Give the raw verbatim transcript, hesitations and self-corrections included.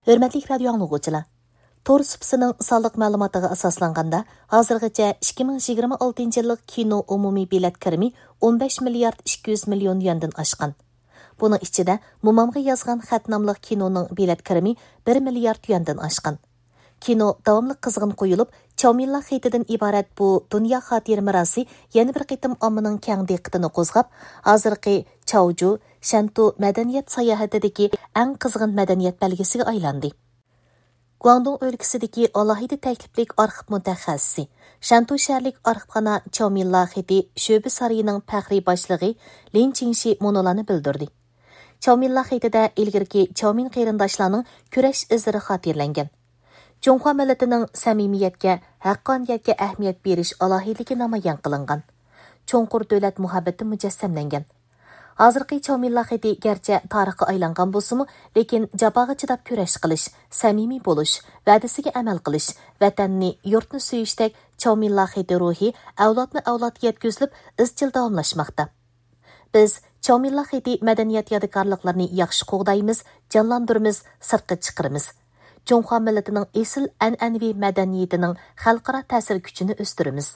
ھۆرمەتلىك رادىيو ئاڭلىغۇچىلار! تور سۇپىسىنىڭ سانلىق مەلۇماتىغا ئاساسلانغاندا، ھازىرغىچە ئىككى مىڭ يىگىرمە ئالتىنچى يىللىق كىنو ئومۇمىي بېلەت كىرىمى ئون بەش مىليارد ئىككى يۈز مىليون يۈەندىن ئاشقان. بۇنىڭ ئىچىدە مومامغا يازغان خەت ناملىق كىنونىڭ بېلەت كىرىمى بىر مىليارد يۈەندىن ئاشقان. كىنو داۋاملىق قىزغىن قويۇلۇپ، چاۋمىنلا خېتىدىن ئىبارەت بۇ دۇنيا خاتىرە مىراسى يەنە بىر قېتىم ئاممىنىڭ كەڭ دىققىتىنى قوزغاپ، ھازىرقى چاۋجۇ، شەنتۇ مەدەنىيەت ساياھىتىدىكى ئەڭ قىزغىن مەدەنىيەت بەلگىسىگە ئايلاندى. گۇاڭدۇڭ ئۆلكىسىدىكى ئالاھىدە تەكلىپلىك ئارخىپ مۇتەخەسسىسى، شەنتۇ شەھەرلىك ئارخىپخانا چاۋمىنلا خېتى شۆبە سارىيىنىڭ پەخرىي باشلىقى لىن چىڭشى مۇنۇلارنى بىلدۈردى. چاۋمىنلا خېتىدە ئىلگىرىكى چاۋمىن قېرىنداشلارنىڭ كۈرەش ئىزلىرى خاتىرىلەنگەن. جۇڭخۇا مىللىتىنىڭ سەمىمىيەتكە، ھەققانىيەتكە ئەھمىيەت بېرىش ئالاھىدىلىكى نامايان قىلىنغان. چوڭقۇر دۆلەت مۇھەببىتى مۇجەسسەملەنگەن. ھازىرقى چاۋمىنلا خېتى گەرچە تارىخقا ئايلانغان بولسىمۇ، لېكىن جاپاغا چىداپ كۈرەش قىلىش، سەمىمىي بولۇش، ۋەدىسىگە ئەمەل قىلىش، ۋەتەننى، يۇرتنى سۆيۈشتەك چاۋمىنلا خېتى روھى ئەۋلادمۇ ئەۋلادقا يەتكۈزۈلۈپ، ئىزچىل داۋاملاشماقتا. بىز چاۋمىنلا خېتى مەدەنىيەت يادىكارلىقلىرىنى ياخشى قوغدايمىز، جانلاندۇرىمىز، سىرتقا چىقىرىمىز. جۇڭخۇا مىللىتىنىڭ ئېسىل ئەنئەنىۋى مەدەنىيىتىنىڭ خەلقئارا تەسىر كۈچىنى ئۆستۈرىمىز.